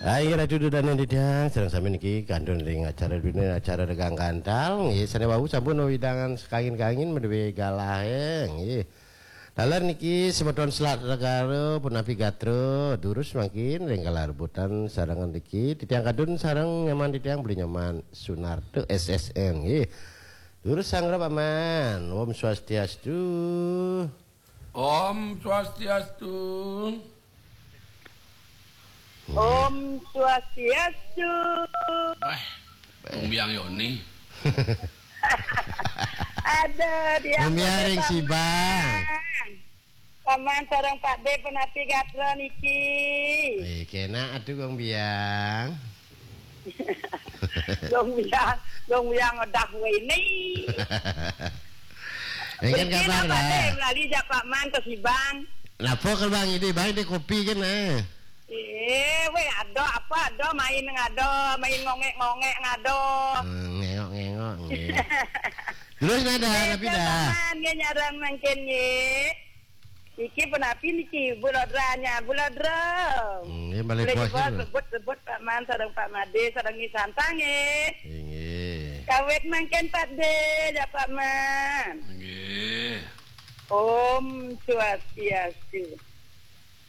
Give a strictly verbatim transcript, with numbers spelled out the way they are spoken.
Hai, Ratu Dudane titiang, sareng sami niki kantun ring acara dunia, acara Regang Gantal, nggih, sane wau sampun wewidangan sekangin-kangin maduwe galahe, nggih. Taler niki semeton Selat Negara punapi gatra, durus mangkin ring kalarebutan sareng niki titiang kantun sareng nyaman titiang Beli Nyoman Sunarto S S N, nggih. Durus sanggra Paman, Om Swastiastu. Om Swastiastu. Om Swastiastu. Wah, Bung Biang Yoni. Ada dia. Bung Biang ring Sibang. Paman sareng Pak De punapi gatra niki. Eh, kenak atuh, Bung Biang. Dong Biang, Dong Biang ngedah wene. Ini kan kabar apa dah. Lali jak Pak Man ke Sibang. Napa ke Bang ini, Bang, ini kopi kan, eh? Eh, weh, ada apa, ada main ngado, main ngongek-ngongek ngado. Hmm, ngengok-ngengok, nggih. Terus nada, eh, tapi dah. Pak Man, nggih, nyarang mangkin, nggih. Iki punapi niki, Bu Lodranya, Bu Lodra. Hmm, nggih, malih puas, sebut-sebut Pak Man, sareng Pak Made, sareng Nyi Santang, nggih. Inggih. Kawit mangkin Pak De, ya Pak Man. Inggih. Om Swastiastu.